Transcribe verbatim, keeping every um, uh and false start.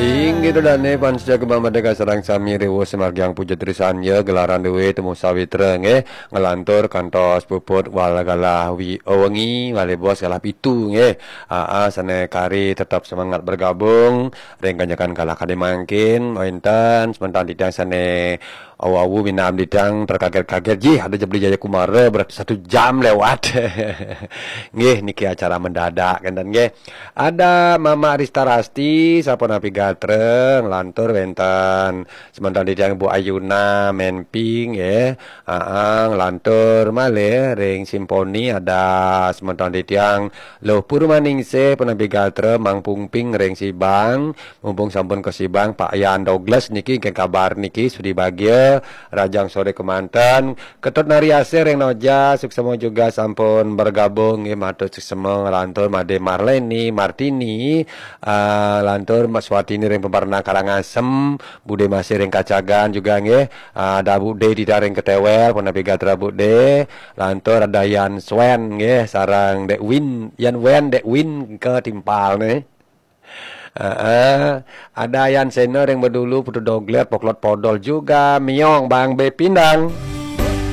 Inggih to dane panca kembang merdeka sareng sami riwuh sumargiang puja trisan ya gelaran duwe temu sawitra nggih, ngelantur kantos puput wal galah wi wengi wali bos galah pitu nggih. Aa, sane kari tetap semangat bergabung ring kanjekan galah kade mangkin, wenten sementan titiang sane awu-awu minam titiang terkaget-kaget, jih ada Jebli Jaya Kumara berarti satu jam lewat. Nggih, niki acara mendadak kenten nggih. Ada Mama Rista Rasti, sapunapi gatra, nglantur wenten semeton titiang Bu Ayuna Menping nggih. Aa, nglantur malih ring Simponi ada semeton titiang Luh Purmaningsih punapi gatra Mang Pungping ring Sibang, mumpung sampun ka Sibang Pak Yan Douglas niki ke kabar niki sudi bagia, rajang sore kemanten, Ketut Nari Asih ring Noja, suksema juga sampun bergabung nggih, matur suksema nglantur Made Marleni, Martini, ah, lantur Mas Watini ring Peparna Karangasem, Bude Masih ring Kacagan juga nggih, ah, ada Bude Dida ring Ketewel, punapi gatra Bude, lantur ada Yan Swen nggih, sareng Dek Win, Yan Wen, Dek Win ke timpal nih. Heeh. Ada Yan Sena ring Bedulu, Putu Doglet, Poklot Podol juga, Miong Bang Bepindang.